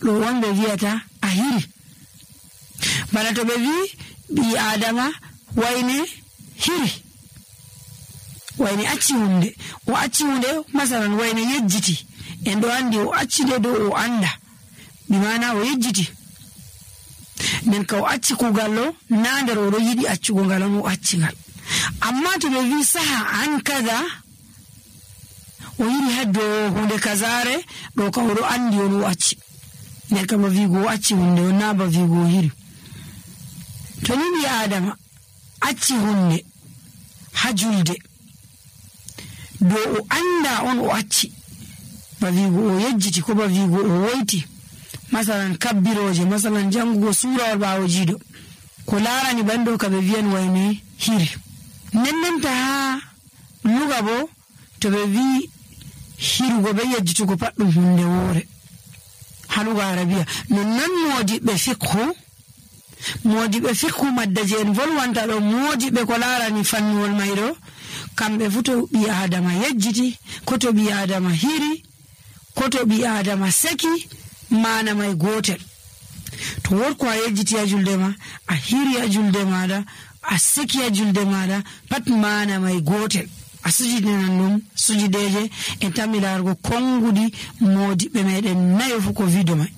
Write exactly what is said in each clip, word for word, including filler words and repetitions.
ɗo on ɓe wiyata a hiri. Bana to ɓe wi ɓi adama wayne hiri, wayne acci hunde, o acci hunde masalan wayne yejjiti, en ɗo andi o acci nde dow o anda, bi mana o yejjiti. nden ka o acci kugal ɗo na nder o ɗo yiɗi accugo ngal on o acci ngal. Amma to ɓe wi saha an kaza, o yiri haddo hunde kazare ɗo ka o ɗo andi on o acci, nden ka ba wigo o acci hunde on na ba wigo o hiri. To ni ɓi adama acci hunde ha julde do o anda on o acci, ba wigo o yejjiti ko ba wigo o woyti, masalan kabbiroje, masalan jangugo surawol ɓawo jiiɗo, ko larani ɓanɗo ka ɓe wiyan wayne hiri. Nennenta ha luga bo to ɓe wi hirugo be yejjitugo pat ɗum hunde woore ha luga arabiya. Nonnon modiɓɓe fiqhu, modiɓɓe fiqhu maddaje en volwanta ɗo, modiɓɓe ko larani fannuwol mayɗo, kamɓe fu to ɓi adama yejjiti, ko to ɓi adama hiri, ko to ɓi adama seki, mana may gotel. To wotko a yejjiti a julde ma, a hiri a julde maɗa, a seki a julde maɗa, pat mana may gotel. A sujidinan ɗum sujideje en tammi larugo konguɗi modiɓɓe meɗen nayo fu ko wido may.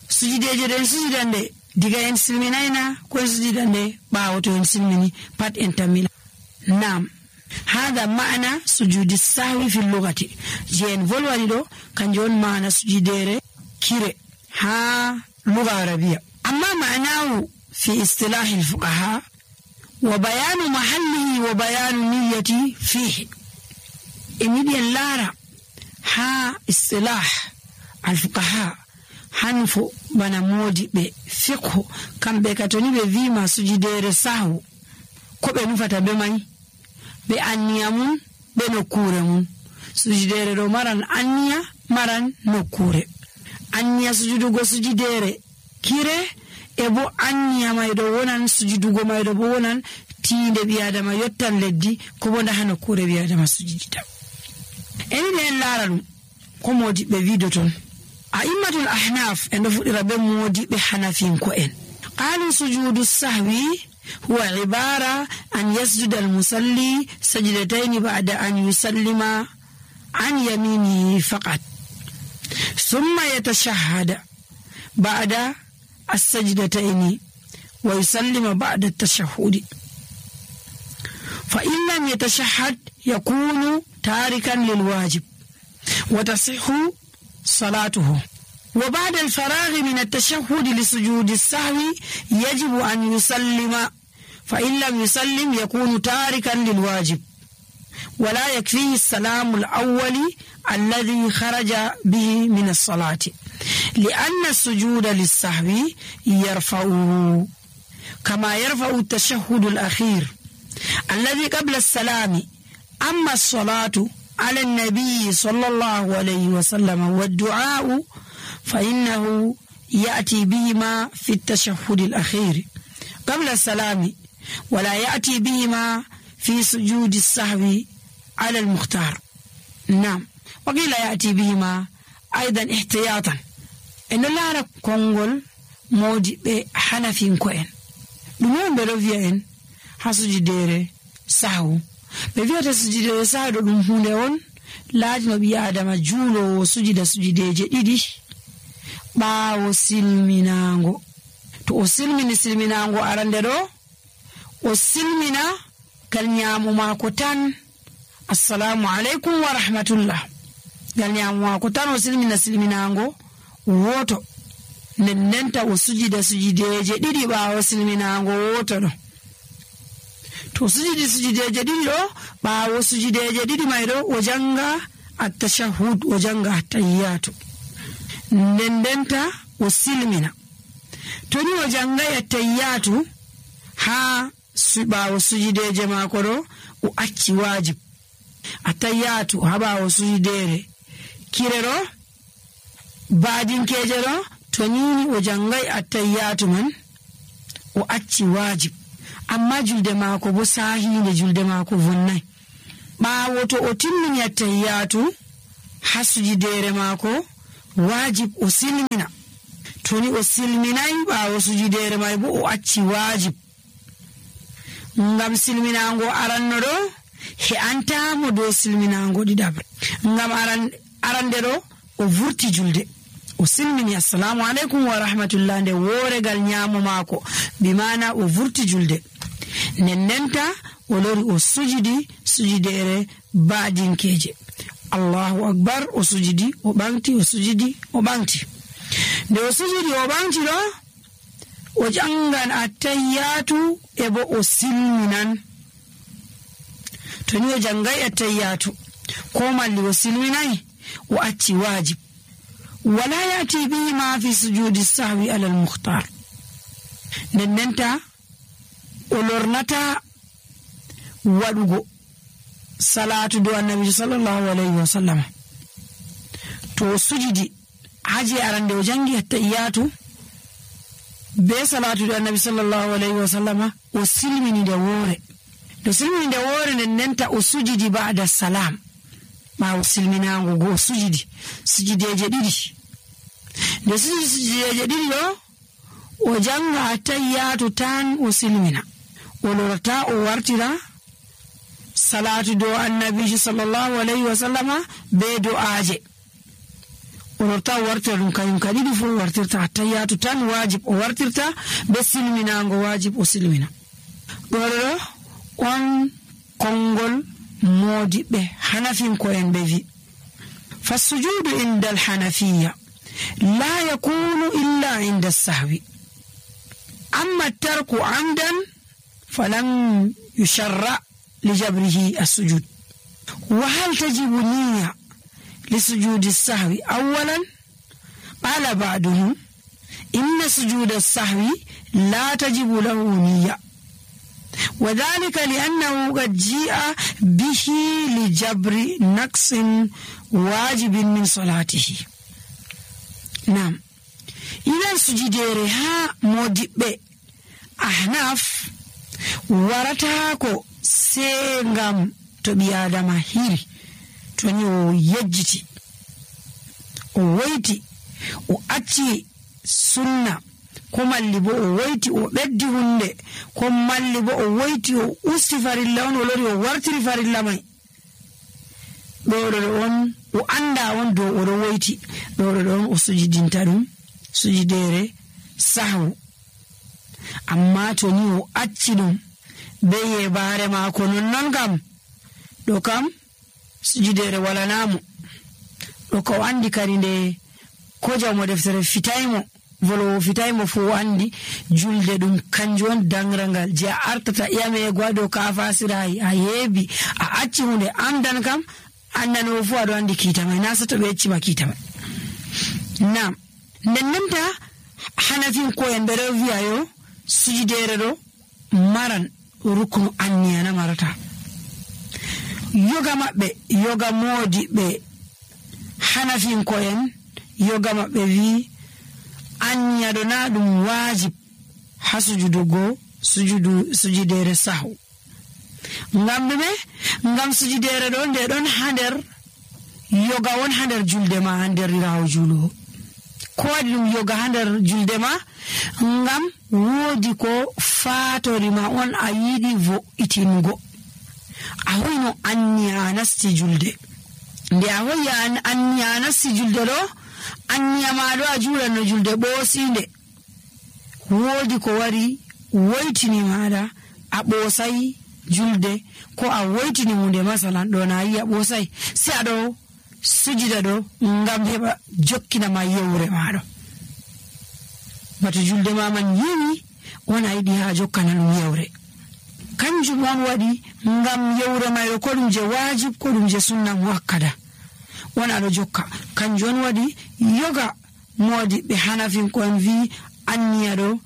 Sujideje ɗen sujidande diga en silminayna ko en sujidande ɓawo to en silmini pat en tammila. Nam hada ma'ana sujudi sahwi fil lugati, je en volwani ɗo kanjum on ma'ana sujidere kire ha luga arabiya. Amma ma'anahu fi istilahi al-fuqaha wa bayanu mahallihi wa bayanu niyyati fihi. Emidi en lara ha istilah al-fuqaha hanfo bana modiɓe fiqhu, kamɓe katoni ɓe wima sujidere sahwu ko ɓe nufata be may, ɓe anniya mum ɓe nokkure mum. Sujidere ɗo maran anniya, maran nokkure. Anniya sujudugo sujidere kire e bo anniya mayɗo wonan sujudugo mayɗo bo wonan tiinde ɓi adama yottan leddi ko bo ndaha nokkure ɓi adama sujudita. Enide en laara ɗum ko modiɓɓe wido ton. A immatul ahnaf en ɗo fuɗɗira be modiɓɓe hanafinko en. Qalu sujudu sahwi huwa ibara an yasjuda al-musalli sajdatayn ba'da an yusallima an yaminihi faqat thumma yatashahhada ba'da as-sajdatayn wa yusallima ba'da at-tashahhud. Fa in lam yatashahhad yakunu tarikan lil wajib wa tasihhu صلاته. وبعد الفراغ من التشهد لسجود السهو يجب أن يسلم، فإن لم يسلم يكون تاركا للواجب ولا يكفيه السلام الأول الذي خرج به من الصلاة، لأن السجود للسهو يرفعه كما يرفع التشهد الأخير الذي قبل السلام. أما الصلاة على النبي صلى الله عليه وسلم والدعاء فإنه يأتي بهما في التشهد الأخير قبل السلام، ولا يأتي بهما في سجود السهو على المختار. نعم، وقيل يأتي بهما أيضا احتياطا. إن الله كونغول مودي بحنفين كوين دمون بلوفيا حسجدير سهو ɓe wiyata sujidere sahdo ɗum hunde on laajino ɓi adama juulowo sujida sujideje ɗiɗi ɓaawo silminaango. To o silmini silminaango arande ɗo, o silmina gal ñaamu maako tan, assalamu aleykum wa rahmatullah, gal ñaamu maako tan o silmina silminaango woto, nden ndenta o sujida sujideje ɗiɗi ɓaawo silminaango woto ɗo. To sujidi sujideje ɗiɗi ɗo, ɓaawo sujideje ɗiɗi may ɗo o janga at-tashahhud, o janga at-tahiyyatu, nden ndenta o silmina. To ni o jangai at-tahiyyatu ha ɓaawo sujideje maako ɗo, o acci wajib. At-tahiyyatu ha ɓaawo sujidere kire ɗo, baadinkeje ɗo, to nini o jangai at-tahiyyatu man, o acci wajib. Amma julde maako bo sahinde, julde maako vonnai. Ɓaawo to o timmini at-tahiyyatu ha sujidere maako, wajib o silmina. to ni o silminay ɓaawo sujudere may bo o acci wajib ngam silminango aranno ɗo he'antamo dow silminango ɗiɗabre ngam aran arande ɗo o vurti julde o silmini assalamu aleykum wa rahmatullah nde woregal nyamo maako bimana o vurti julde nennenta o lori o sujudi sujudere baadinkeje allahu akbar o sujudi o ɓanti o sujudi o ɓanti nde o sujudi o ɓanti ɗo o jangan attayyatu e bo o silminan to ni o jangay attayyatu ko malli o silminay o acci wajib wala yati bihi ma fi sujudi sahwi ala al-mukhtar nennenta o lornata waɗugo salatu do annabi sallallahu alayhi wa sallam to o sujudi haji arande o jangi attayyatu be salatu do annabi sallallahu alayhi wa sallama o silmini de wore do silmini de wore nennenta o sujudi ba'da salam ma o silminango go sujudi sujudeje ɗiɗi nde sujudi sujudeje ɗiɗi ɗo o janga attayyatu tan o silmina o lorta o wartira salatu do annabi sallallahu alayhi wa sallama be du'aje o lorta o wartira ɗum kayum ka ɗiɗi fu o wartirta attayyatu tan wajib o wartirta be silminango wajib o silmina ɗo ɗo on konngol modiɓɓe hanafinko'en ɓe wi fassujudu inda alhanafiya la yakunu illa inda sahwi amma tarku amdan falan yusharra lijabrihi assujud wa hal tajibu niyya lisujudi sahwi awalan qala ba'duhum inna sujuda sahwi la tajibu lahu niyya وذلك لأنه قد جاء به لجبر نقص واجب من صلاته نعم إذا سجديرها مودب أحناف ورتاكو سيغام تبيادم هيري تونيو يجتي وويتي وأتي سنة ko malli bo o woyti o ɓeddi hunde ko malli bo o woyti o usti farilla on o lori o wartiri farilla may ɗo ɗo on o anda on dow oɗo woyti ɗo ɗo on o sujidinta ɗum sujidere sahwu amma to ni o acci ɗum be yebare maako nonnon kam ɗo kam sujidere walanamo ɗo ko andi kadi nde ko jawmo deftere fitaymo volowo fitaymo fo andi julde ɗum kanjum on dangrangal je a artata iyamego ha dow ka fasirayi a yeebi a acci hunde amdan kam andanowo fo aɗo andi kiitamay na sato ɓe yeccima kiitamay nam ndennenta hanafin koyen ɓe ɗo wiya yo sujidere ɗo maran ruknu anniyana marata yoga maɓɓe yoga moodi ɓe hanafin koyen yoga maɓɓe wi anniya ɗo na ɗum wajib ha sujudugo sujudu sujidere sahu ngam ɗume ngam sujidere ɗo nde ɗon ha nder yoga won ha nder julde ma ha nder rawo juuluwo ko waɗi ɗum yoga ha nder julde ma ngam woodi ko fatori ma on a yiɗi vo'itingo a hoyno anniya a nasti julde nde a hoyi anniya a nasti julde ɗo anniya ma ɗo a juulanno julde ɓoosinde woodi ko wari woytini maɗa a ɓoosay julde ko a woytini hunde masalan ɗo na yi a ɓoosay si aɗo sujida ɗo ngam heɓa jokkinama yewre maɗo bato julde ma man yiwi on a yiɗi ha jokkana ɗum yewre kanjum on waɗi ngam yewre mayɗo ko ɗum je wajib ko ɗum je sunna muakkada on aɗo jokka kanjum on waɗi yoga moodi ɓe hanafin ko en wi anniya ɗo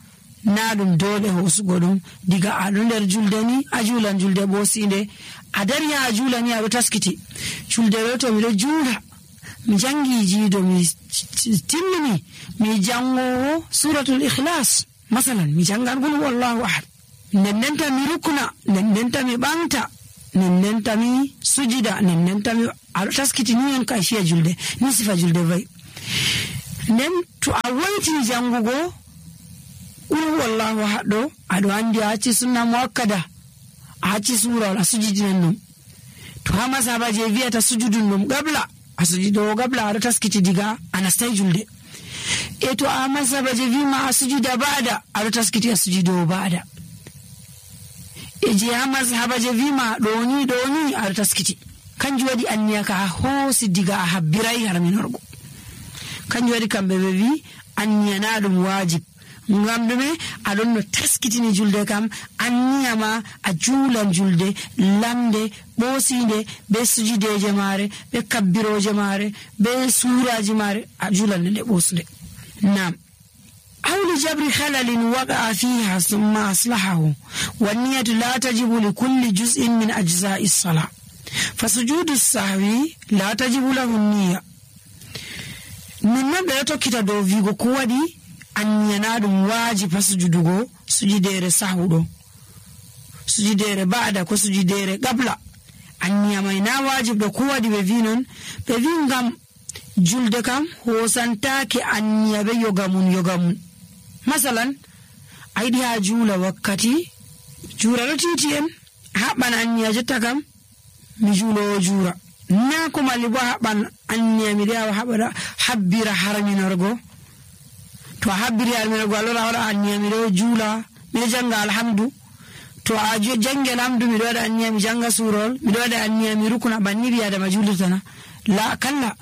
na ɗum dole hosugo ɗum diga aɗo nder julde ni a juulan julde ɓoosinde a dari ha a juula ni aɗo taskiti julde ɗo to miɗo juula mi jangi jiido mi timmini mi jangowo suratul ikhlas masalan mi jangan qul wallahu ahad nennenta mi rukna nennenta mi ɓamta nennenta mi sujida nennenta mi aɗo taskiti ni on kayfiya julde ni sifa julde vayi nden to a woytini jangugo qul wallahu haɗɗo aɗo andi a acci sunna muakkada a acci surawol a sujudinan ɗum to ha masaba je wiyata sujudun ɗum gabla a sujudowo gabla aɗo taskiti diga a nastai julde e to a masaba je wima a sujuda ba'da aɗo taskiti a sujudowo ba'da e je ha masaba je wima ɗoni ɗoni aɗo taskiti kanjum waɗi anniya ka a hoosi diga a habbirai harminorgo kanjum waɗi kamɓe ɓe wi anniya na ɗum wajib ngam ɗume aɗon no taskitini julde kam anniya ma a juulan julde lamde ɓoosinde be sujudeje maare be kabbiroje maare be suraji maare a juulan nde ɓoosde nam awli jabri halalin waqa'a fiha summa aslahahu wanniyatu la tajibu li kulli juz'in min ajza'i as-salah fa sujudu sahwi la tajibu lahu niyya nonnon ɓe tokkita dow wigo ko waɗi anniyana ɗum waajiba sujudugo sujudere sahuɗo sujudere ba'da ko sujudere qabla anniya mai na wajib ɗo ko waɗi ɓe wi non ɓe wi ngam julde kam hosantake anniya ɓe yogamun yogamun masalan a yiɗi ha juula wakkati juura ɗo titi en haɓɓan anniya jotta kam mi juulowo juura na ko malli bo haɓɓan anniya miɗo yawa haɓa habbira harminorgo to a habbiri harminorgo alora waɗa anniya miɗo juula miɗo janga alhamdu to a jangi alhamdu miɗo waɗa anniya mi janga surol miɗo waɗa anniya mi rukuna banni ɓi adama julirtana la kalla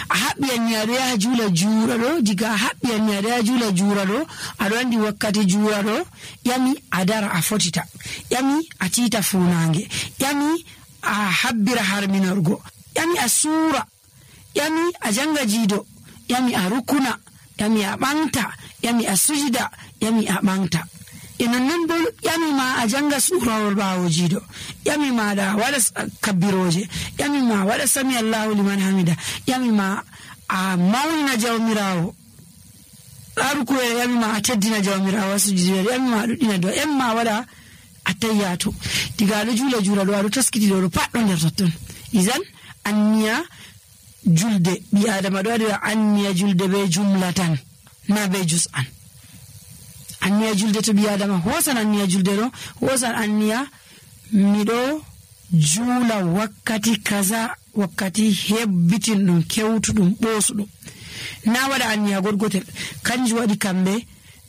a haɓɓi anniya ɗo yaha juula juura ɗo diga a haɓɓi anniya ɗo yaha juula juura ɗo aɗo andi wakkati juura ɗo ƴami a dara a fotita ƴami a tiita funange ƴami a habbira harminorgo ƴami a suura ƴami a janga jiido ƴami a rukuna ƴami a ɓanta ƴami a sujida ƴami a ɓanta e nonnon bo ƴami ma a janga suurawol ɓaawo jiido ƴami maɗa waɗa kabbiroje ƴami ma waɗa sami allahu liman hamida ƴami ma a mawnina jawmirawo ɗa rukuwere ƴami ma a teddina jawmirawo a sujidere ƴami ma a ɗuɗɗina do ƴami ma waɗa attayyato diga aɗo juula juula ɗo aɗo taskiti ɗo ɗo pat ɗo nder totton isan anniya julde ɓi adama ɗo waɗira anniya julde be jumla tan na be jus'an anniya julde to ɓi adama hosan anniya julde ɗo hosan anniya miɗo juula wakkati kaza wakkati hebbitin ɗum kewtuɗum ɓoosuɗum na waɗa anniya goɗgotel kanjum waɗi kamɓe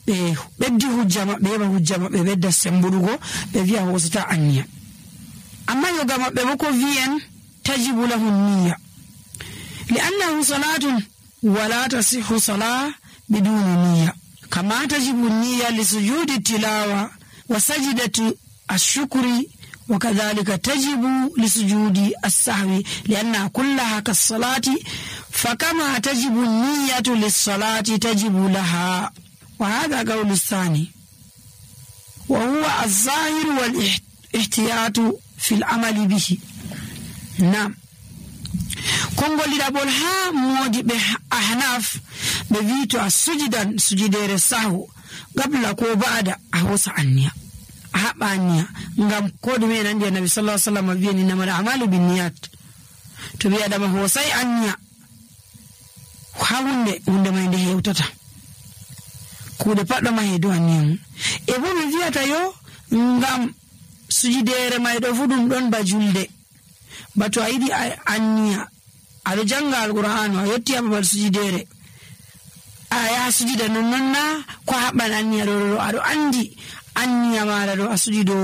ɓe ɓeddi hujja maɓɓe heɓa hujja maɓɓe ɓedda sembuɗugo ɓe wiya hosata anniya amma yoga maɓɓe bo ko wiyen tajibu lahu niyya li'annahu salatun wala tasihhu salah biduni niyya kama tajibu niyya li sujudi tilawa wa sajdati ash-shukri wa kadhalika tajibu li sujudi as-sahwi li'anna kullaha kas-salati fakama tajibu niyyatu lis-salati tajibu laha wa hadha qawlu ath-thani wa huwa az-zahir wal-ihtiyatu fi al-amali bihi nam kongoliɗaɓol ha modiɓe ahnaf ɓe wi to a sujidan sujidere sahu gabla ko ba'da a hosa anniya a haɓɓa anniya ngam ko ɗume en andi annabi sallallahu alaihi wasallam wiyani innamal a'malu binniyat to ɓi adama hosai anniya ha hunde hunde mai nde hewtata kuuɗe paɗɗo ma heedu anniya mum e bo mi wiyata yo ngam sujidere may ɗo fu ɗum ɗon ba julde bato a yiɗi anniya aɗo janga alqur'anu a yetti ha babal sujidere a yaha sujida nonnon na ko haɓɓan anniya ɗo ɗo aɗo andi anniya maɗa ɗo a sujido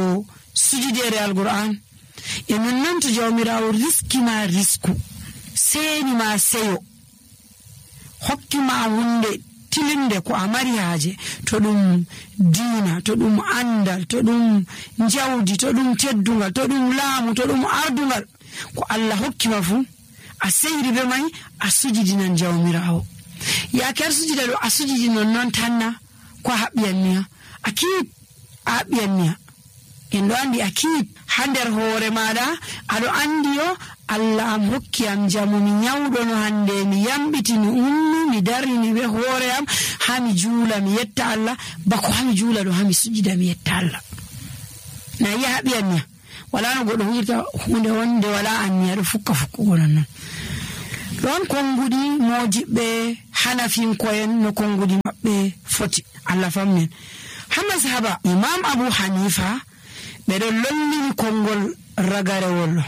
sujidere alqur'an e nonnon to jawmirawo riski ma risku seni ma seyo hokki ma hunde tilinde ko a mari haaje to ɗum diina to ɗum andal to ɗum jawdi to ɗum teddungal to ɗum laamu to ɗum ardungal ko Allah hokkima fu a seyri be mai a sujidinan jawmirawo yaake ar sujida ɗo a sujidi nonnon tanna ko a haɓɓi anniya a kiit a haɓɓi anniya en ɗo andi a kiit ha nder hoore maɗa aɗo andi yo Allah am hokki am jamu mi nyawɗono hande mi yambiti mi ummi mi darini be hoore am ha mi juula mi yetta Allah bako ha mi juula ɗo ha mi sujida mi yetta Allah na yi haɓi anniya wala no goɗɗo huyirta hunde wonde wala anniya ɗo fukka fukkugo nonnon ɗon konguɗi mojiɓɓe hanafinko'en no kongudi maɓɓe foti. Allah famnen. Ha mazhaba Imam Abu Hanifa ɓe ɗon lollini kongol ragarewol.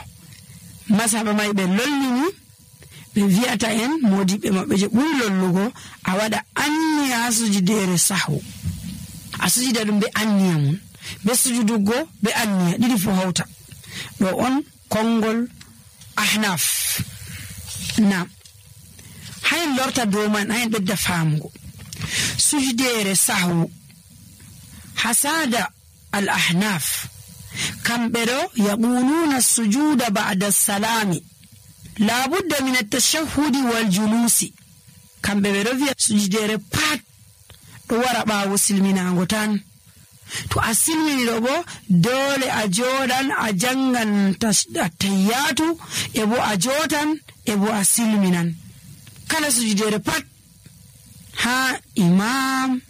Mazhaba mai ɓe lollini ɓe wi'ata en modiɓe maɓɓe je ɓuri lollugo a waɗa anniya sujudere sahwu. A sujida ɗum be anniya mun, be sujudugo be anniya ɗiɗi fu hawta. Ɗo on kongol Ahnaf. Naam. Hayen lorta dow man, hayen ɓedda famugo. Sujudere sahwu hasada al Ahnaf kamɓe ɗo yaquluna sujuda ba'da salami la budda min at-tashahhudi wal julusi. Kamɓe ɓe ɗo wi'a sujudere pat ɗo wara ɓaawo silminago tan. To a silmini ɗo bo dole a joɗan a jangan tahiyyatu e bo a jotan e bo a silminan. Kala sujudere pat ha imam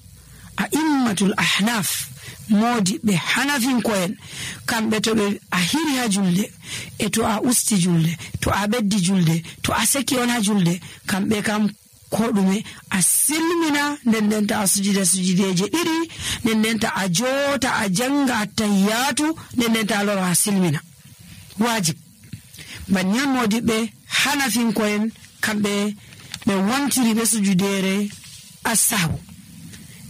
a immatul ahnaf modi ɓe hanafinko'en kamɓe to ɓe a hiri ha julde e to a usti julde, to a ɓeddi julde, to a seki on ha julde, kamɓe kam ko ɗume a silmina nden ndenta a sujida sujudeje ɗiɗi, nden ndenta a jota a janga attahiyatu, nden ndenta a lora a silmina. Wajib. Banyan modiɓe hanafinko'en kamɓe ɓe wontiri ɓe sujudere as-sahwu.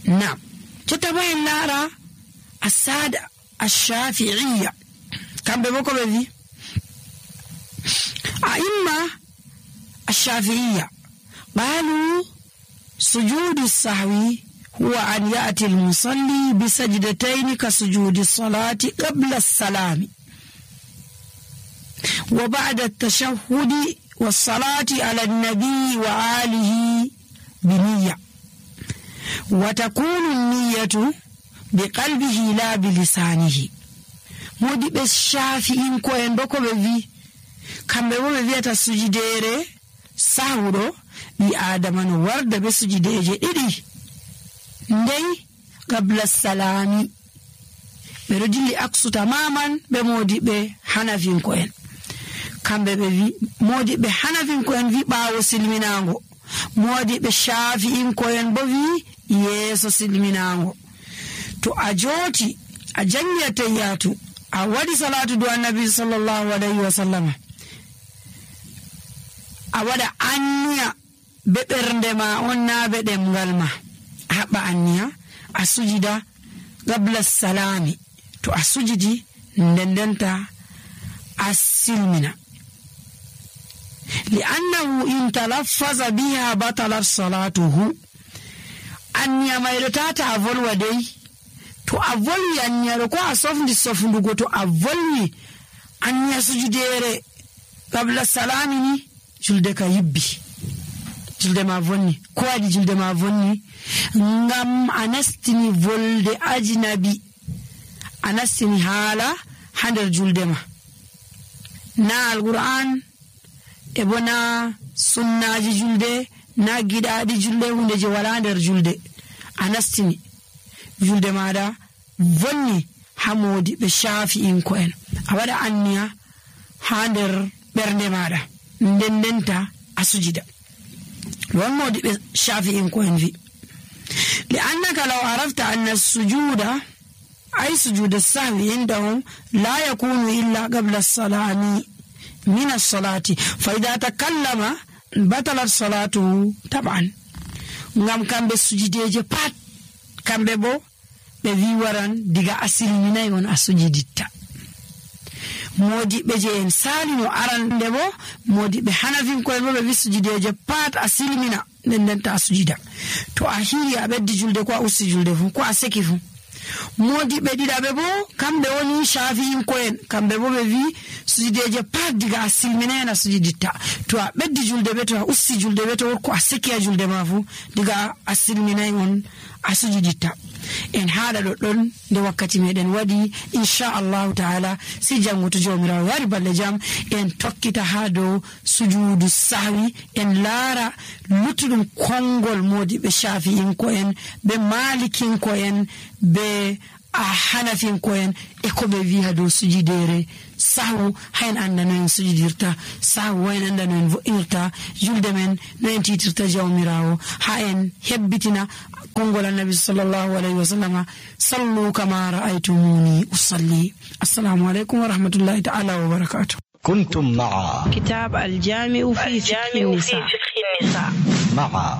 Naam. Jotta bo en laara asada ash-shafi'iyya kamɓe bo ko ɓe wi a imma ash-shafi'iyya qalu sujudu as-sahwi huwa an ya'ti al-musalli bi sajdatayn ka sujudi as-salati qabla as-salami wa ba'da at-tashahhudi was-salati ala an-nabi wa alihi bi niyya wa takunu an-niyyatu biqalbihi la bilisanihi. Modiɓe shafi'in ko en bo ko ɓe wi kamɓe bo ɓe wi'ata sujudere sahwuɗo ɓi adama no warda be sujudeje ɗiɗi ndey qabla salami. ɓe ɗo dilli aksu tamaman ɓe modiɓe hanafinko en. Kamɓe ɓe wi modiɓe hanafinko en wi ɓaawo silminago, modiɓe shafi'in ko en bo wi yeeso silminago. To a joti a jangi attahiyatu a waɗi salatu do annabi sallallahu alayhi wa sallam, a waɗa anniya be ɓernde ma on na be ɗemgal ma, a haɓɓa anniya a sujida qabla salami. To a sujidi nden ndenta a silmina. li'annahu in talaffaza biha batalat salatuhu. Anniya mayɗo tata a volwa dey. To a volwi anniya ko a sofndi sofndugo, to a volwi anniya sujudere qabla salami ni julde ka yibbi, julde ma vonni. Ko waɗi julde ma vonni? Ngam a nastini volde ajnabi, a nastini haala ha nder julde ma, na alquran e bo na sunnaji julde, na giɗaɗi julde, hunde je wala nder julde. A nastini julde maɗa vonni ha modiɓe shafi'inko en, a waɗa anniya ha nder ɓernde maɗa nden ndenta a sujida. ɗon modiɓe shafi'inko en vi li annaka law arafta anna sujuda ay sujuda sahwi indahum la yakunu illa qabla as-salami min as-salati fa idha takallama batalat salatuhu taban. Ngam kamɓe sujudeje pat kamɓe bo ɓe wi waran diga a silminayi on a sujiditta. Modiɓe je en salino arande bo modiɓe hanafinko'en bo ɓe wi sujudeje pat a silmina nden ndenta a sujida. To a hiri a ɓeddi julde ko a usti julde fu ko a seki fu. Modiɓe ɗiɗaɓe bo kamɓe woni shafi'inko'en, kamɓe bo ɓe wi sujudeje pat diga a silminayi on a sujiditta. To a ɓeddi julde be to a usti julde be to ko a seki a julde ma fu diga a silminayi on a sujiditta. En haala ɗoɗɗon nde wakkati meɗen waɗi inchallahu taala, si jango to jawmirawo yari balle jam en tokkita ha dow sujudu sahwi, en laara luttuɗum kongol modiɓe shafi'inko en be malikinko en be a hanafin koyen e ko ɓe wi ha dow sujidere sahu hayen anda no en sujidirta sahu hayen anda no en vo'inirta julde men no en titirta jawmirawo ha en hebbitina kongol annabi sallallahu alayhi wa sallama sallu kama ra'aytumuni usalli. Assalamu alaikum wa rahmatullahi ta'ala wa barakatuh. كنتم مع كتاب الجامع في فقه النساء مع